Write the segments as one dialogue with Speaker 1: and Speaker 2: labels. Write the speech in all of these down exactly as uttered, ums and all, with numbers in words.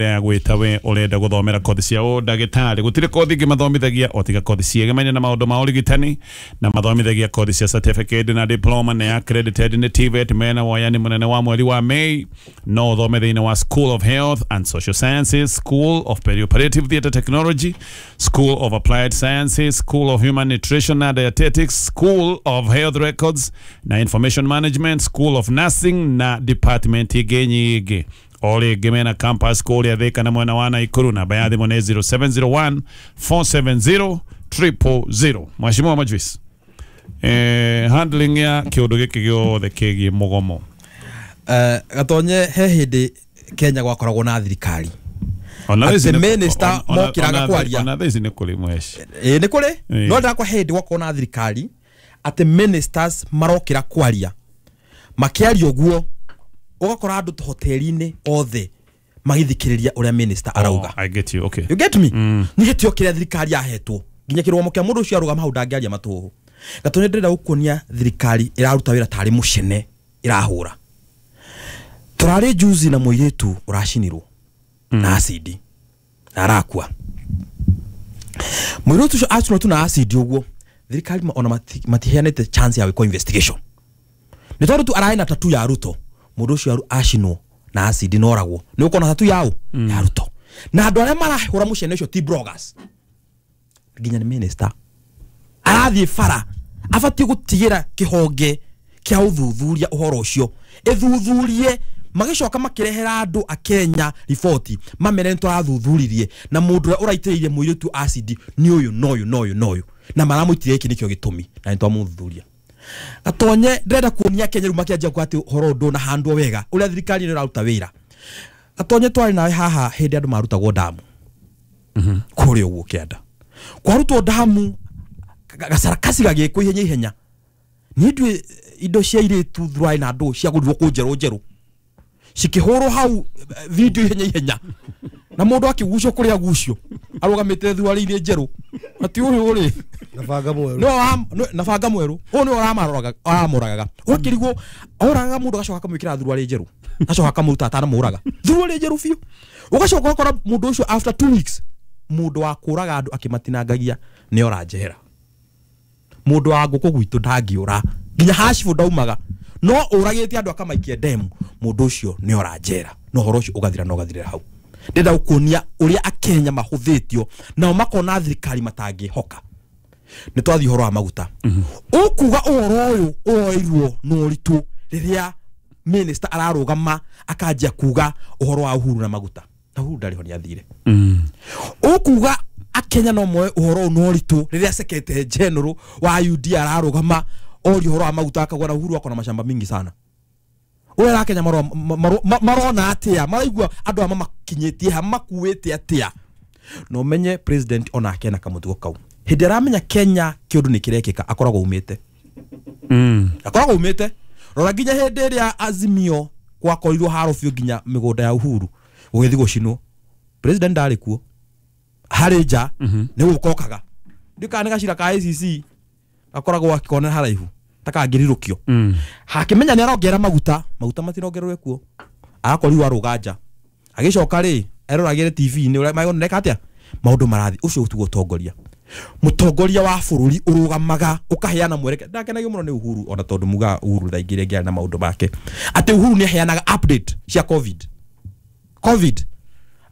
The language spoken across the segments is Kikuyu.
Speaker 1: Ya gwita we urenda guthomera kothi cia ũndagĩtarĩ gũtirĩ kothi ingĩ mathomithagia o tiga kothi ciĩgemaine na maũndũ ma ũrigitani na mathomithagia kothi cia certificate na diploma na accredited nĩ T V E T. Mena woyani mũnene wa mweri wa May no ũthome thĩinĩ wa School of Health and Social Sciences, School of Perioperative Theatre Technology, School of Applied Sciences, School of Human Nutrition and Dietetics, School of Health Records na Information Management, School of Nursing na department ingĩ nyingĩ. O rĩngĩ mena campus kũrĩa Thĩka na mwena wa Naikuru. Namba ya thimũ nĩ zero seven zero one four seven zero zero zero zero. Mheshimiwa Majuice, eh, handling ya kĩũndũ gĩkĩ gĩothe kĩgiĩ mũgomo.
Speaker 2: Eh, gatonye he hĩndĩ Kenya gwakoragwo na thirikari
Speaker 1: Ona thaa ici
Speaker 2: atĩ
Speaker 1: nĩ-
Speaker 2: minister
Speaker 1: ona-
Speaker 2: mokĩraga
Speaker 1: ona-
Speaker 2: kwaria.
Speaker 1: Ona thaa ici nĩ kũrĩ mweshi.
Speaker 2: Ĩĩ, nĩ kũrĩ.
Speaker 1: Ĩĩ.
Speaker 2: No ndakwa hĩndĩ gwakorwo na thirikari atĩ ministers marokĩra kwaria, makĩaria ũguo ũgakora andũ hoteli-inĩ othe magĩthikĩrĩria ũrĩa minister arauga.
Speaker 1: Oh, I get you. Okay.
Speaker 2: You get me? Nĩ gĩtĩo kĩrĩa thirikari yahetwo nginya kĩrũgamo kĩa mũndũ ũcio arũgama hau ndangĩaria matũhũ. Gatonye, ndĩrenda gũkuonia thirikari ĩraruta wĩra tarĩ mũcene ĩrahũra. Tũrarĩ juzi na mũirĩtu ũracinirwo na acidi na arakua. Mũirĩtu ũcio acinwo tu na acidi ũguo, thirikari ma- ona mati- matiheanĩte chance ya gwĩkwo investigation nĩ tondũ tu ararĩ na tatu ya Ruto. Mũndũ ũcio aru- acinwo na acidi na oragwo nĩ ũkona tatu yao ya Ruto, na andũ arĩa marahũra mũcene ũcio ti bloggers, nginya nĩ minister arathiĩ bara. Abatiĩ gũtigĩra kĩhonge kĩa ũthuthuria ũhoro ũcio ĩthuthurie, magĩcoka makĩrehera andũ a Kenya riboti, mamere nĩ tũrathuthuririe na mũndũ ũrĩa ũraitĩrĩirie mũirĩtu acid nĩ ũyũ na ũyũ na ũyũ na ũyũ na maramũitĩrĩria gĩkĩ nĩkĩo gĩtũmi na nĩ twamũthuthuria. Gatonye, ndĩrenda kuonia Kenya rĩu makĩanjia kuga atĩ ũhoro ũyũ ndũnahandwo wega ũrĩa thirikari ĩno ĩraruta wĩra. Gatonye, twarĩ nawe haha hĩndĩ andũ marutagwo ndamu kũrĩa ũguo kĩanda kwarutwo ndamu, gacarakasi gagĩkwo ihenya ihenya. Niĩ ndiũĩ indo cia airĩtu thuruarĩ na ndũ ciagũrirwo kũ njerũ njerũ cikĩhũrwo hau eh, video ihenya ihenya na mũndũ akĩgucio kũrĩa gucio arũgamĩte thuruarĩ-inĩ njerũ ati ũyũ rĩ
Speaker 3: na banga mwerũ.
Speaker 2: Nĩwe wa- nĩwe- na banga mwerũ ũyũ nĩwe ũramaroraga ũramũragaga, ũgakĩrigwo oragaga mũndũ agacoka akamwĩkĩra thuruarĩ njerũ, agacoka akamũruta atanamũraga thuruarĩ njerũ biũ, ũgacoka ũgakora mũndũ ũcio after two weeks, mũndũ wa kũraga andũ akĩmatinangagia nĩ ora njera. Mũndũ wa ngũkũ gwitũ ndangĩũra nginya hacibũ ndaumaga no ũragĩte andũ akamaikia ndemu, mũndũ ũcio nĩ ora njera na ũhoro ũcio ũgathira na ũgathirĩra hau. Ndĩrenda gũkuonia ũrĩa Akenya mahũthĩtio nao makona thirikari matangĩhoka. Nĩ twathiĩ ũhoro wa maguta, ũkuga ũhoro ũyũ ũroirwo na ũritũ rĩrĩa minister ararũgama akanjia kuga ũhoro wa Uhuru na maguta na Uhuru ndarĩ ho, nĩ athire. Ũkuga Akenya no moe ũhoro ũyũ na ũritũ rĩrĩa secretary general wa U D ararũgama oria ũhoro wa maguta akauga na Uhuru akona mashamba mingi sana. Ũrĩa Akenya maro- maro- ma- marona atĩa, maraigua andũ aya mamakinyĩtie ha makuĩte atĩa? Na ũmenye president onake ena kamũtugo kau, hĩndĩ aramenya Kenya kĩũndũ nĩ kĩrekĩka akoragwo umĩte akoragwo umĩte. Rora nginya hĩndĩ ĩrĩa Azimio gwakorirwo haro biũ nginya mĩgũnda ya Uhuru gũgĩthiĩ gũcinwo, president ndarĩ kuo, harĩ nja nĩ gũkokaga ndikana nĩ gacira ka A C C gakoragwo akĩkona haraihu ta kangĩrirũkio hakĩmenya nĩ arongerera maguta, maguta matirongererwe kuo, agakorirwo arũga nja agĩcoka rĩ eroragĩre T V-inĩ ũrĩa magoneka atĩa maũndũ marathiĩ. Ũcio tiguo ũtongoria. Mũtongoria wa bũrũri ũrũgamaga ũkaheana mwerekera. Ndakenagio mũno nĩ Uhuru ona tondũ mugaga Uhuru thaa ingĩ rĩngĩ arĩ na maũndũ make, atĩ Uhuru nĩ aheanaga update cia covid covid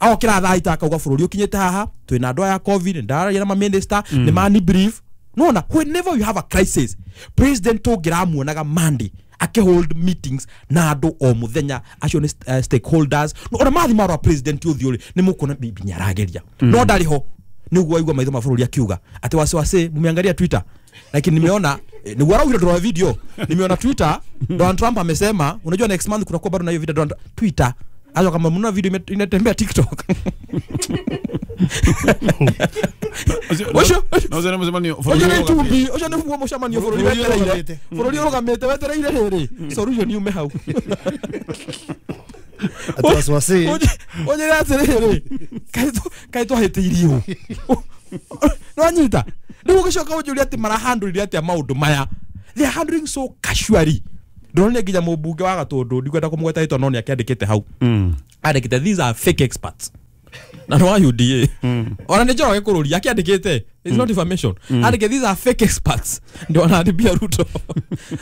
Speaker 2: agokĩra thaa ita akauga bũrũri ũkinyĩte haha, twĩna andũ aya covid, ndararia na maminista nĩ mani brief. Nona whenever you have a crisis, president tũngĩramuonaga Monday akĩhold meetings na andũ o mũthenya acio nĩ uh, stakeholders. No, ona mathi marwa president ũthiũ rĩ nĩ mũkuona bibi nĩ arageria no ndarĩ ho. Nĩguo waigua maitho ma bũrũri akiuga atĩ wasiwasi mumeangalia Twitter, lakini nimeona eh, nĩguo araugire ndora video, nimeona Twitter Donald Trump amesema, unajua next month kutakuwa bado na hiyo video. Donald Twitter azo kama mnaona video ime- inatembea TikTok. Ũcio
Speaker 1: No nĩ mũcemanio
Speaker 2: ũcio nĩ tumbi, ũcio nĩguo mũcemanio bũrũri
Speaker 3: Bũrũri
Speaker 2: wetereire.
Speaker 3: ũrũgamĩte.
Speaker 2: Bũrũri ũrũgamĩte wetereire rĩrĩ solution yume hau.
Speaker 3: Atĩ wasiwasi.
Speaker 2: Ũnjĩre atĩrĩrĩ, kaĩ twahĩtĩirio nĩwanyita? Rĩu ũgĩcoka ũnjũrie atĩ marahandũrire atĩa maũndũ maya. They are handling so casually. Ndonire nginya mũmbunge wa Gatũndũ, ndikwenda kũmũgweta rĩtwa, no nĩ akĩandĩkĩte hau, andĩkĩte, "These are fake experts," na nĩ wa U D A. Ona nĩ Njoroge kũrũria akĩandĩkĩte, it's not information, andĩke, "These are fake experts," ndio wanaribia Ruto,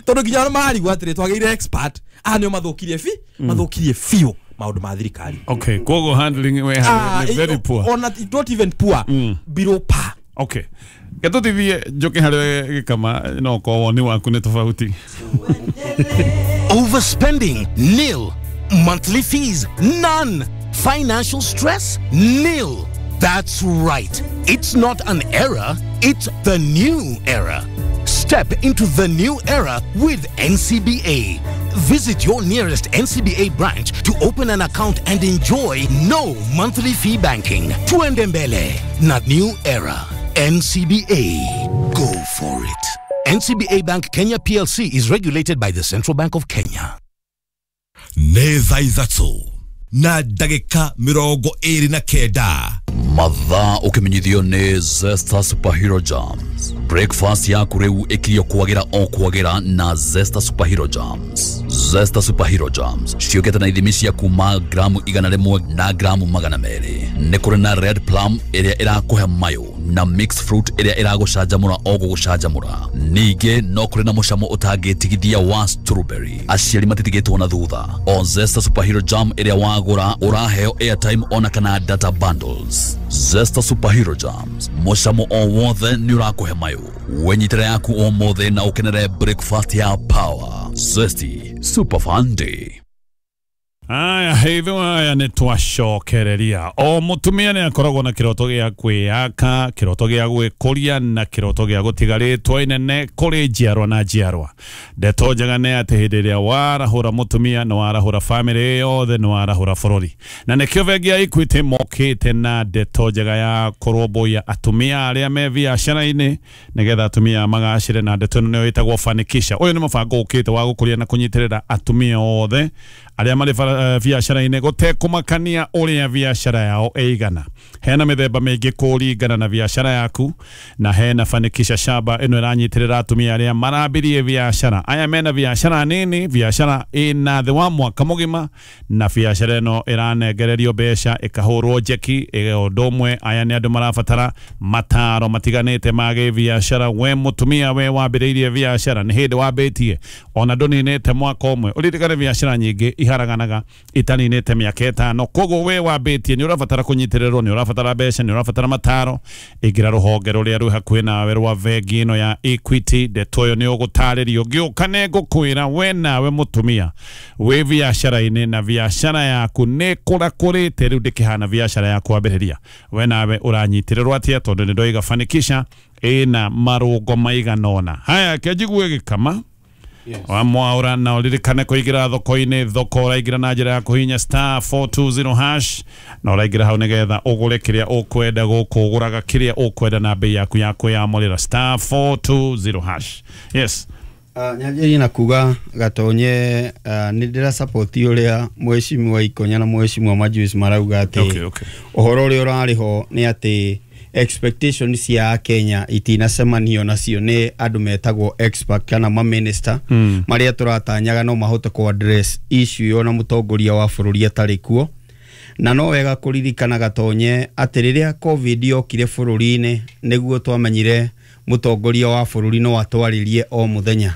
Speaker 2: tondũ nginya ona marigwo atĩrĩ, twagĩire expert aya nĩo mathũkirie bi mathũkirie biũ maũndũ ma thirikari.
Speaker 1: Okay, koguo handling we
Speaker 2: Ah,
Speaker 1: nĩ very poor.
Speaker 2: Ona not even poor, below par.
Speaker 1: Okay, getũtithie njũke harĩ gĩkama, no korwo woni waku nĩ tofauti.
Speaker 4: Overspending? Nil. Monthly fees? None. Financial stress? Nil. That's right. It's not an era, it's the new era. Step into the new era with N C B A. Visit your nearest N C B A branch to open an account and enjoy no monthly fee banking. Tuende mbele, not new era. N C B A. Go for it. N C B A Bank Kenya P L C is regulated by the Central Bank of Kenya.
Speaker 5: Nĩ thaa ithatũ na ndagĩka mĩrongo ĩrĩ na kenda.
Speaker 6: Mathaa ũkĩmenyithio nĩ Zesta Superhero Jams. Breakfast yaku rĩu ĩkirio kwagĩra o kwagĩra na Zesta Superhero Jams. Zesta Superhero Jams ciũkĩte na ithimi cia kuma gramu igana rĩmwe na gramu magana merĩ. Nĩ kũrĩ na red plum ĩrĩa ĩrakũhe mayũ na mixed fruit ĩrĩa ĩragũcanjamũra o gũgũcanjamũra. Ningĩ no kũrĩ na mũcamo ũtangĩtigithia wa strawberry. Aciari matitigĩtwo na thutha. O Zesta Superhero Jam ĩrĩa wagũra ũraheo airtime ona kana data bundles. Zesta Superhero Jams, mũcamo o wothe nĩ ũrakũhe mayũ. Wenyitĩre yaku ũmũthĩ na ũkenere breakfast ya power. Zesty Super Fun Day.
Speaker 1: Aya, hitho aya nĩ twacokereria. O mũtumia nĩ akoragwo na kĩroto gĩa kwĩyaka, kĩroto gĩa gwĩkũria na kĩroto gĩa gũtiga rĩtwa inene kũrĩ njiarwa na njiarwa. Ndeto njega nĩ atĩ hĩndĩ ĩrĩa warahũra mũtumia, nĩ warahũra bamĩrĩ yothe, nĩ warahũra bũrũri. Na nĩkĩo bengi ya Equity mokĩte na ndeto njega ya kũrũmbũiya atumia arĩa me biacara-inĩ, nĩgetha atumia magacĩre, na ndeto ĩno nĩyo ĩtagwo Fanikisha. Ũyũ nĩ mũbango ũkĩte wa gũkũria na kũnyitĩrĩra atumia othe arĩa marĩ bara- eh, biacara-inĩ, gũtekũmakania ũrĩa biacara yao ĩigana. Hena mĩthemba mĩingĩ kũringana na biacara yaku, na hena Fanikisha Shaba ĩno ĩranyitĩrĩra atumia arĩa marambirie biacara, aya mena biacara nini, biacara ĩna thĩ wa mwaka mũgima, na biacara ĩno ĩranengererio mbeca ĩkahũrwo njeki ĩ ũndũ ũmwe. Aya nĩ andũ marabatara mataro matiganĩte ma gĩbiacara. We mũtumia, we wambĩrĩirie biacara, nĩ hĩndĩ wambĩtie, ona ndũninĩte mwaka ũmwe. Ũririkane biacara nyingĩ iharaganaga itaninĩte mĩaka ĩtano. Koguo we wambĩtie, nĩ ũrabatara kũnyitĩrĩrwo, nĩ ũrabatara mbeca, nĩ ũrabatara mataro. Ingĩra rũhonge rũrĩa rwĩ hakuhĩ nawe rwa bengi ĩno ya Equity. Ndeto ĩyo nĩ ũgũtarĩrio. Ngĩũka nĩ ngũkwĩra we nawe mũtumia wĩ biacara-inĩ na biacara yaku nĩ kũrakũrĩte, rĩu ndĩkĩhana biacara ya kwambĩrĩria, we nawe ũranyitĩrĩrwo atĩa? Tondũ nĩ ndoiga Fanikisha ĩna marũngo maigana ũna. Haya, kĩnjigue gĩkama wa mwaura, na ũririkane kũingĩra thoko-inĩ. Thoko ũraingĩra na njĩra ya kũhihinya star four two zero hash, na ũraingĩra hau nĩgetha ũgũre kĩrĩa ũkwenda. Gũkũ ũgũraga kĩrĩa ũkwenda na bei yaku ya kwĩyamũrĩra, star four two zero hash. Yes.
Speaker 7: Uh, nyanjĩrĩrie na kuga Gatonye, uh, nĩ ndĩra support ũrĩa mheshimiwa Ikonya na mheshimiwa Majuice marauga atĩ
Speaker 1: Okay, okay.
Speaker 7: ũhoro ũrĩa ũrarĩ ho nĩ atĩ expectation cia Kenya itinacemanio nacio nĩ andũ metagwo expert kana maminista mm. marĩa tũratanyaga no mahote ku address issue ĩyo na mũtongoria wa bũrũri atarĩ kuo. Na no wega kũririkana, Gatonye, atĩ rĩrĩa COVID yokire bũrũri-inĩ, nĩguo twamenyire mũtongoria wa bũrũri no atwarĩrie o mũthenya,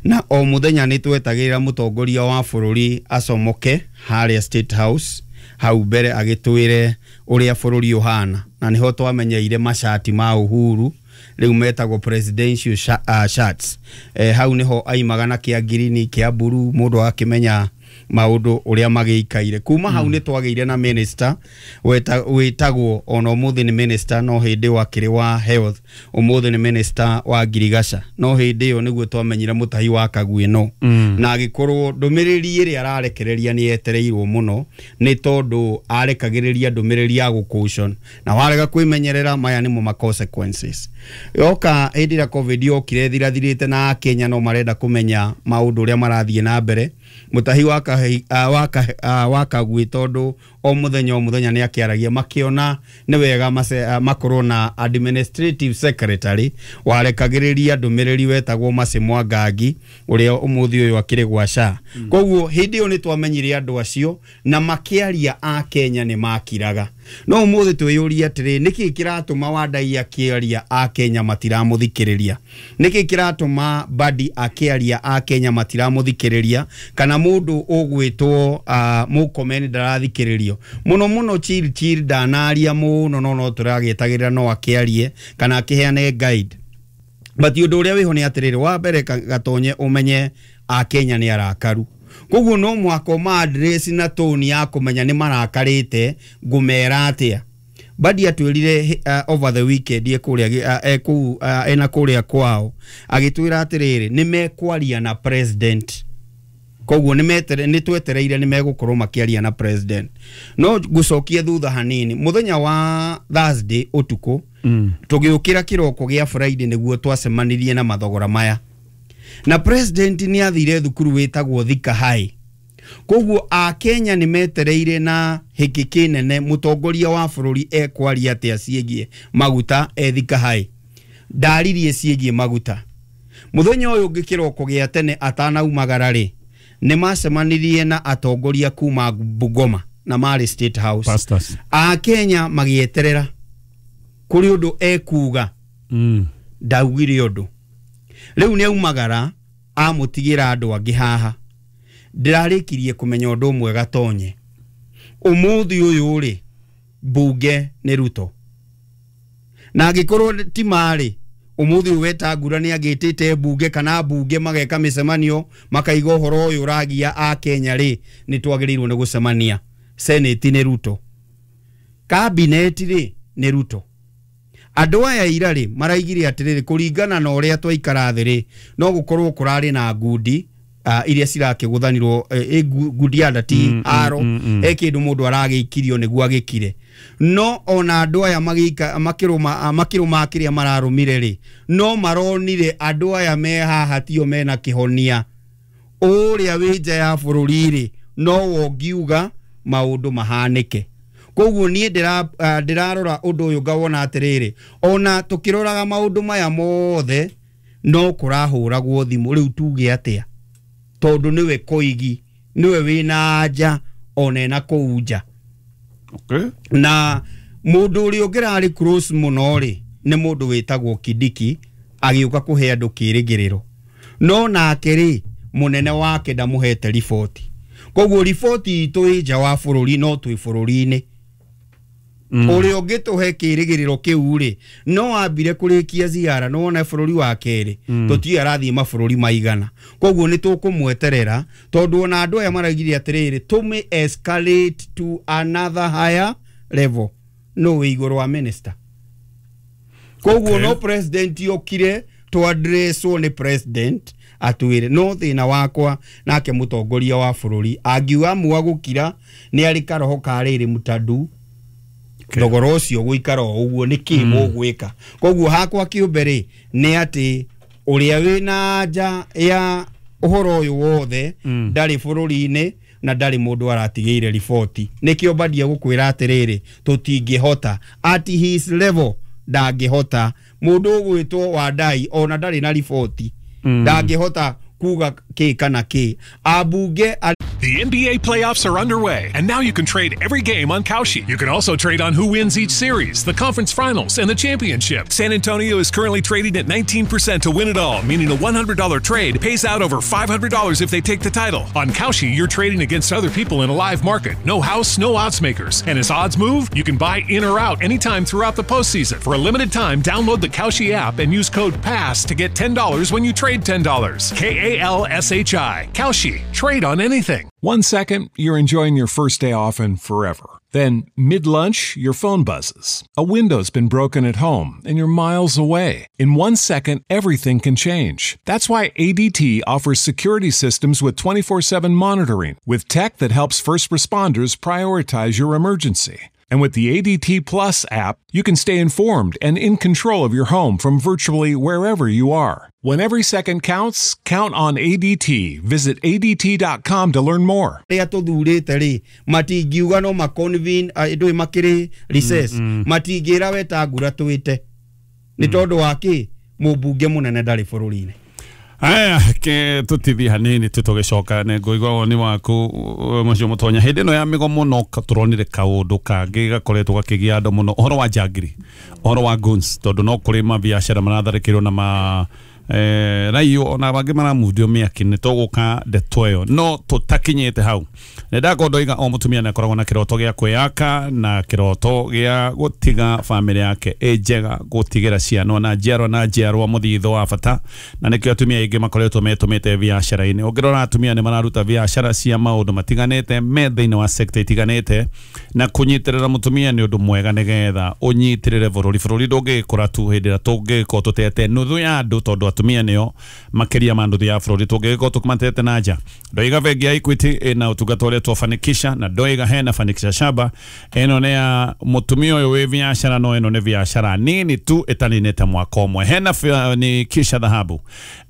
Speaker 7: na o mũthenya nĩ twetagĩrĩra mũtongoria wa bũrũri acomoke harĩa State House hau mbere agĩtwĩre ũrĩa bũrũri ũhana, na nĩho twamenyeire macati ma Uhuru rĩu metagwo presidential sha, uh, shirts. eh, hau nĩho aimaga na kĩa ngirini, kĩa mburu, mũndũ akĩmenya maũndũ ũrĩa magĩikaire. Kuma hau nĩ twagĩire na minister weta- wĩtagwo, ona ũmũthĩ nĩ minister, no hĩndĩ ĩyo akĩrĩ wa health, ũmũthĩ nĩ minister wa ngirigaca, no hĩndĩ ĩyo nĩguo twamenyire Mũtahi wa Kagwĩ no mm. na agĩkorwo ndũmĩrĩri ĩrĩa ararekereria nĩ yetereirwo mũno, nĩ tondũ arekagĩrĩria ndũmĩrĩri ya gũcaution, na warega kwĩmenyerera maya nĩmo ma consequences. Yoka hĩndĩ ĩrĩa COVID yokire ĩthirathirĩte na Akenya no marenda kũmenya maũndũ ũrĩa marathiĩ na mbere, Mũtahi wa Kahi- ah, wa Kahi- ah, wa Kagwĩ, tondũ O mũthenya o mũthenya nĩ akĩaragia, makĩona nĩ wega mace- makorwo na administrative secretary warekagĩrĩria ndũmĩrĩri wetagwo Mercy Mwangangi, ũrĩa ũmũthĩ ũyũ akĩrĩ gwa S H A. Koguo hĩndĩ ĩyo nĩ twamenyire andũ acio na makĩaria a Kenya nĩ makiraga. No ũmũthĩ twĩyũrie atĩrĩ, nĩkĩ kĩratũma Wandai akĩaria a Kenya matiramũthikĩrĩria? Nĩkĩ kĩratũma Badi akĩaria a Kenya matiramũthikĩrĩria? Kana mũndũ ũgwĩtwo uh, Murkomen ndarathikĩrĩrio mũno mũno? Chirchir ndanaria mũno, no no tũragĩetagĩrĩra no akĩarie kana akĩheane guide. But ũndũ ũrĩa wĩho nĩ atĩrĩrĩ, wa mbere, Gatonye, ũmenye a Kenya nĩ arakaru, koguo no mwaka ũma address na tone ya kũmenya nĩ marakarĩte. Ngũmera atĩa? Badi atwĩrire uh, over the weekend e kũrĩa uh, e kũu uh, ena kũrĩa kwao, agĩtwĩra atĩrĩrĩ, nĩ mekwaria na president. Koguo nĩ twetereire nĩ megũkorwo makĩaria na president. No ngũcokie thutha hanini, mũthenya wa Thursday ũtukũ mm. tũgĩũkĩra kĩroko gĩa Friday nĩguo twacemanirie na mathogora maya, na president nĩ athire thukuru wĩtagwo Thika High. Koguo akenya nĩ metereire na hĩkĩ kĩnene mũtongoria wa bũrũri ekwaria atĩa ciĩgiĩ maguta e Thika High. Ndaririe ciĩgiĩ maguta. Mũthenya ũyũ ũngĩ kĩroko gĩa tene atanaumagara rĩ, nĩ macemanirie na atongoria kuma Bungoma na marĩ State House.
Speaker 1: Pastors.
Speaker 7: Akenya magĩeterera kũrĩ ũndũ ekuga.
Speaker 1: Mm.
Speaker 7: Ndaugire ũndũ. Rĩu nĩ aumagara amũtigĩra andũ angĩ haha. Ndĩrarĩkirie kũmenya ũndũ ũmwe, Gatonye, ũmũthĩ ũyũ rĩ, mbunge nĩ Ruto, na angĩkorwo ti marĩ ũmũthĩ ũyũ Wetangula nĩ agĩtĩte mbunge kana mbunge mageka mĩcemanio makaiga ũhoro ũyũ ũragia a Kenya rĩ, nĩ twagĩrĩirwo nĩ gũcemania. Senate nĩ Ruto, cabinet rĩ nĩ Ruto. Andũ aya ira rĩ maraigire atĩrĩrĩ, kũringana na ũrĩa twaikara thĩ rĩ, no gũkorwo kũrarĩ na ngundi uh, iria cirakĩgũthanirwo, eh, ngundi ya ndati mm, aro mm, mm, he kĩndũ mũndũ aragĩikirio nĩguo agĩkire. No ona andũ aya magĩika makĩrũma makĩrũma kĩrĩa mararũmire rĩ, no maronire andũ aya me haha tio mena kĩhonia. Ũrĩa wĩ nja ya bũrũri rĩ, no wongiuga maũndũ mahanĩke. Koguo niĩ ndĩrarora ũndũ ũyũ ngawona atĩrĩrĩ, ona tũkĩroraga maũndũ maya mothe no kũrahũragwo thimũ. Rĩu tuge atĩa? Tondũ nĩwe Koigi, nĩwe wĩna nja ona ena kũu nja.
Speaker 1: Okay.
Speaker 7: Na mũndũ ũrĩa ũngĩrarĩ close mũno rĩ, nĩ mũndũ wĩtagwo Kindiki, agĩũka kũhe andũ kĩrĩgĩrĩro, no nake rĩ, mũnene wake ndamũhete riboti. Koguo riboti itũ ĩ nja wa bũrũri, no twĩ bũrũri-inĩ. Ũrĩa ũngĩtũhe kĩrĩgĩrĩro kĩu rĩ, no ambire kũrĩkia ziara. No wone bũrũri wa kerĩ tũtiũĩ arathiĩ mabũrũri maigana. Koguo nĩ tũkũmweterera, tondũ ona andũ aya maraigire atĩrĩrĩ, tũmĩ escalate to another higher level, no wĩ igũrũ wa minister. Koguo
Speaker 1: Okay.
Speaker 7: no president okire tũ-addresswo nĩ president atwĩre. No thĩna wakwa nake mũtongoria wa bũrũri angiuga amua gũkira, nĩ arĩ karoho ka rĩrĩ mũtandu.
Speaker 1: Okay.
Speaker 7: Thogora ũcio gũikara o ũguo nĩ kĩ mũgwĩka? Koguo hakwa kĩũmbe rĩ, nĩ atĩ ũrĩa wĩna nja ya ũhoro ũyũ wothe ndarĩ bũrũri-inĩ na ndarĩ mũndũ aratigĩire riboti. Nĩkĩo mbandia gũkwĩra atĩrĩrĩ, tũtingĩhota at his level, ndangĩhota. Mũndũ ũgwĩtwo Wandai ona ndarĩ na riboti, ndangĩhota kuga kĩ kana kĩ ambunge.
Speaker 8: The N B A playoffs are underway, and now you can trade every game on Kalshi. You can also trade on who wins each series, the conference finals, and the championship. San Antonio is currently trading at nineteen percent to win it all, meaning a one hundred dollar trade pays out over five hundred dollars if they take the title. On Kalshi, you're trading against other people in a live market. No house, no odds makers. And as odds move, you can buy in or out anytime throughout the postseason. For a limited time, download the Kalshi app and use code PASS to get ten dollars when you trade ten dollars. K A L S H I. Kalshi. Trade on anything.
Speaker 9: One second, you're enjoying your first day off and forever. Then, mid lunch, your phone buzzes. A window's been broken at home and you're miles away. In one second, everything can change. That's why A D T offers security systems with twenty-four seven monitoring, with tech that helps first responders prioritize your emergency. And with the A D T Plus app, you can stay informed and in control of your home from virtually wherever you are. When every second counts, count on A D T. Visit A D T dot com to learn more.
Speaker 7: Rĩa tũthurĩte rĩ matingiuga no maconvene ndũĩ makĩrĩ recess matingĩra Wetangula twĩte nĩ tondũ wa kĩ mũmbunge mũnene ndarĩ bũrũri-inĩ.
Speaker 1: Aya ke tutithi hanini tutugicoka ne ngũigua woni waku mũcio mũtonya hĩndĩ ĩno ya mĩgomo no tũronire kaũndũ kangĩ gakoretwo gakĩgia andũ mũno ũhoro wa njangiri ũhoro wa guns tondũ no kũrĩ mabiacara maratharĩkĩrwo na ma eh raio ona bangĩ maramundio mĩaki nĩ tũgũka ndeto ĩyo no tũtakinyĩte hau nĩ ndakorwo ndoiga o mũtumia nĩ akoragwo na kĩroto gĩa kwĩyaka na kĩroto gĩa gũtiga bamĩrĩ yake ĩ njega gũtigĩra ciana na njiarwa na njiarwa mũthitho wa bata na nĩkĩo atumia aingĩ makoretwo metũmĩte biacara-inĩ ũngĩrora atumia nĩ mararuta biacara cia maũndũ matiganĩte me thĩinĩ wa sekta itiganĩte na kũnyitĩrĩra mũtumia nĩ ũndũ mwega nĩgetha ũnyitĩrĩre bũrũri bũrũri ndũngĩkũra tu hĩndĩ ĩrĩa tũngĩkorwo tũtete nuthu ya andũ tondũ atumia nĩo makĩria ma nuthu ya bũrũri tũngĩgĩkorwo tũmatete na nja ndoiga bengi ya Equity ĩna ũtungata ũrĩa twafanikisha na ndoiga hena fanikisha shaba ĩno nĩ ya mũtumia ũyũ wĩ biacara no ĩno nĩ biacara nini tu ĩtaninĩte mwaka ũmwe hena fanikisha dhahabu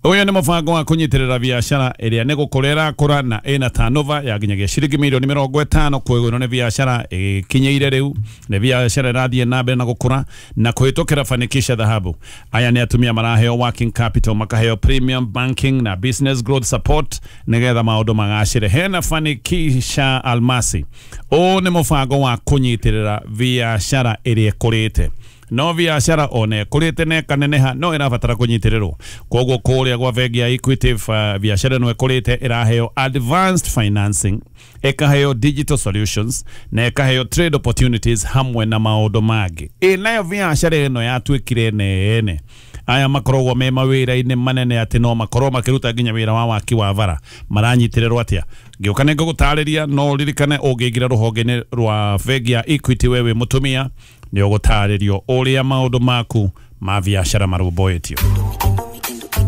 Speaker 1: ũyũ nĩ mũbango wa kũnyitĩrĩra biacara ĩrĩa nĩ gũkũra ĩrakũra na ĩna turnover ya nginyagia ciringi mirioni mĩrongo ĩtano koguo ĩno nĩ biacara ĩkinyĩire rĩu nĩ biacara ĩrathiĩ na mbere na gũkũra na kũhĩtũkĩra fanikisha dhahabu aya nĩ atumia maraheo working capital makaheo premium banking na business growth support nĩgetha maũndũ magacĩre hena fanikisha almasi ũũ nĩ mũbango wa kũnyitĩrĩra biacara ĩrĩa ĩkũrĩte no biacara ona ĩkũrĩte na ĩkaneneha no ĩrabatara kũnyitĩrĩrwo koguo kũrĩa gwa bengi ya Equity uh, biacara ĩno ĩkũrĩte ĩraheo advanced financing ĩkaheo digital solutions na ĩkaheo trade opportunities hamwe na maũndũ mangĩ ĩ nayo biacara ĩno yatuĩkire nene aya makoragwo me mawĩra-inĩ manene atĩ no makorwo makĩruta nginya wĩra wa waki wa bara maranyitĩrĩrwo atĩa ngĩũka nĩ ngũgũtarĩria no ũririkane ũngĩingĩra rũhonge-inĩ rwa bengi ya Equity we wĩ mũtumia nĩ ũgũtarĩrio ũrĩa maũndũ maku ma biacara marũmbũĩtio.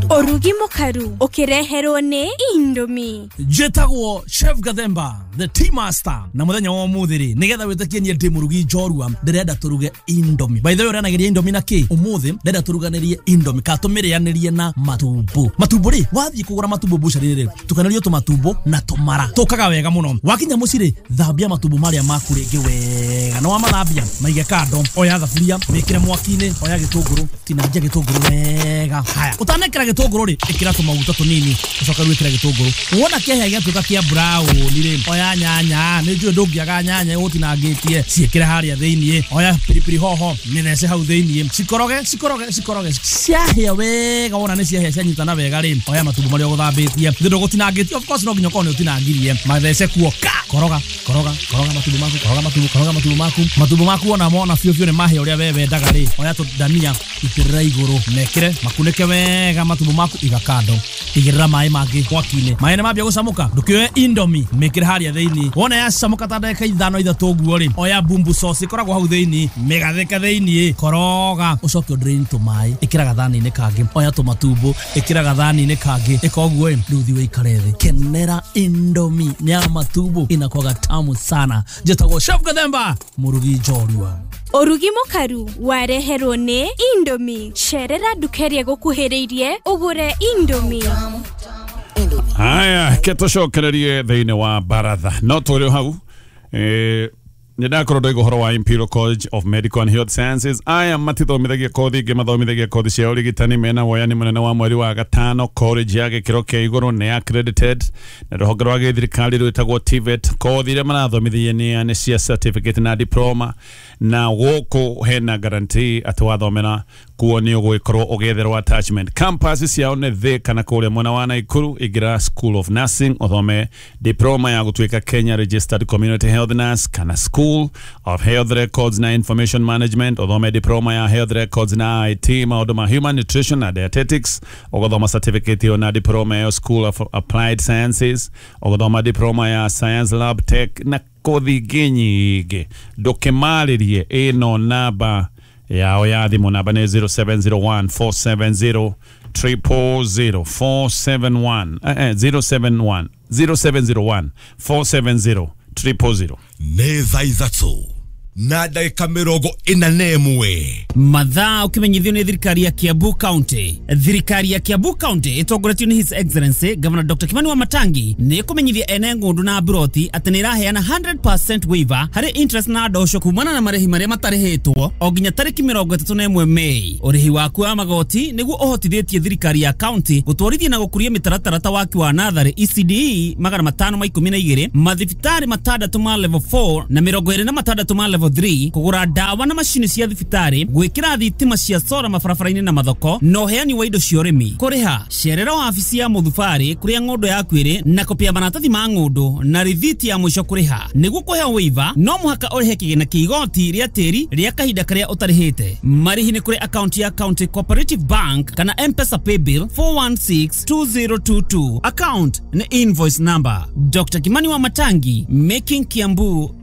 Speaker 10: Ũrugi mũkaru ũkĩreherwo nĩ Indomie.
Speaker 11: Njĩtagwo Chef Gathemba the tea master na mũthenya wa ũmũthĩ rĩ nĩgetha wĩtĩkie niĩ ndĩ mũrugi njorua ndĩrenda tũruge Indomie. By the way ũrĩanagĩria Indomie na kĩ? Ũmũthĩ ndĩrenda tũruganĩrie Indomie kana tũmĩrĩanĩrie na matumbo. Matumbo rĩ wathiĩ kũgũra matumbo bucari rĩ tukanĩrio tũmatumbo na tũmara tũkaga wega mũno. Wakinya mũciĩ rĩ thambia matumbo marĩa maku rĩngĩ wega na wamathambia maige kando oya thaburia mĩkĩre mwaki-inĩ oya gĩtũngũrũ tinangia gĩtũngũrũ wega haya ũtanekĩra gĩtũngũrũ rĩ ĩkĩra tũmaguta tũnini ũcoke rĩu ĩkĩra gĩtũngũrũ wona kĩahĩa gĩatuĩka kĩa brown rĩ oya nyanya nĩ njũĩ ndũngĩaga nyanya ũtinangĩtie ciĩkĩre harĩa thĩiniĩ oya pilipili hoho mĩthece hau thĩiniĩ cikoroge cikoroge cikoroge ciahĩa wega wona nĩ ciahĩa cianyitana wega rĩ oya matumbo marĩa ũgũthambĩtie thĩ ndũgũtinangĩtie of course no nginya ũkorwo nĩ ũtinangirie mathece kuo ka koroga koroga koroga matumbo maku koroga matumbo koroga matumbo maku matumbo maku ona mona biũ biũ nĩ mahĩa ũrĩa we wendaga rĩ oya tũndania itĩrĩra igũrũ mekĩre makunĩke wega matumbo maku iga kando igĩrĩra maĩ mangĩ mwaki-inĩ maĩ nĩ mambia gũcamũka ndũkĩoe Indomie mĩkĩre harĩa thĩiniĩ wona yacamũka ta ndagĩka ithano ithatũ ũguo rĩ oya bumbu sauce ĩkoragwo hau thĩiniĩ mĩgathĩke thĩiniĩ koroga ũcoke ũdrain tũmaĩ ĩkĩra gathani-inĩ kangĩ oya tũmatumbo ĩkĩra gathani-inĩ kangĩ ĩka ũguo ĩ rĩu thiĩ ũikare thĩ kenera Indomie nĩ ya matumbo inakwaga tamu sana. Njĩtagwo Chef Gathemba mũrugi njorua.
Speaker 10: Ũrugi mũkaru wareherwo nĩ Indomie. Cerera nduka ĩrĩa ĩgũkuhĩrĩirie ũgũre Indomie.
Speaker 1: Haya ke tũcokererie thĩinĩ wa baratha no tũrĩ hau eh nĩ ndakorwo ndoiga ũhoro wa Imperial College of Medical and Health Sciences aya matithomithagia kothi ingĩ mathomithagia kothi cia ũrigitani mena woyani mũnene wa mweri wa gatano college ya gĩkĩro kĩa igũrũ nĩ accredited na rũhonge rwa gĩthirikari rwĩtagwo T V E T kothi iria marathomithia nĩ nĩ cia certificate na diploma na gũkũ hena guarantee atĩ wathomera kuo nĩ ũgũgĩkorwo ũgĩetherwo attachment campus ciao nĩ thĩ kana kũrĩa mwena wa Naikuru ingĩra School of Nursing ũthome diploma ya gũtuĩka Kenya Registered Community Health Nurse kana School of Health Records na Information Management ũthome diploma ya Health Records na I T maũndũ ma Human Nutrition na Dietetics ũgathoma certificate ĩyo na diploma ya School of Applied Sciences ũgathoma diploma ya Science Lab Tech na kothi ingĩ nyingĩ ndũkĩmarĩrie ĩno namba yao ya thimũ namba nĩ zero seven zero one four seven zero triple zero four seven one eh, eh, zero seven one zero seven zero one four seven zero triple zero
Speaker 5: nĩ thaa ithatũ Na ndagĩka mĩrongo ĩna na ĩmwe.
Speaker 12: Mathaa ũkĩmenyithio nĩ thirikari ya Kiambu County. Thirikari ya Kiambu County ĩtongoretio nĩ His Excellency Governor Doctor Kimani Wamatangi nĩ ĩkũmenyithia ene ng'ũndũ na mburoti atĩ nĩ ĩraheana one hundred percent waiver harĩ interest na ndosho kumana na marĩhi marĩa matarĩhĩtwo o nginya tarĩki mĩrongo ĩtatũ na ĩmwe Mei. Ũrĩhi waku wa magoti nĩguo ũhotithĩtie thirikari ya county gũtwarithia na gũkũria mĩtaratara ta waki wa natharĩ E C D E magana matano ma ikũmi na igĩrĩ, mathibitarĩ matandatũ ma level four na mĩrongo ĩrĩ na matandatũ ma level three, kũgũra ndawa na macini cia thibitarĩ, gwĩkĩra thitima cia sora mabarabara-inĩ na mathoko, na ũheani wa indo cia ũrĩmi. Kũrĩha, cerera wabici ya mũthubarĩ kũrĩa ng'ũndũ yaku ĩrĩ na kopi ya maratathi ma ng'ũndũ na rithiti ya mũico kũrĩha. Nĩguo kũheo waiver, no mũhaka ũrĩhe kĩgĩna kĩa igoti rĩa tĩri rĩa kahinda karĩa ũtarĩhĩte. Marĩhi nĩ kũrĩ akaunti ya County Cooperative Bank kana M-Pesa Paybill four one six two zero two two, account nĩ invoice number. Doctor Kimani Wamatangi, making Kiambu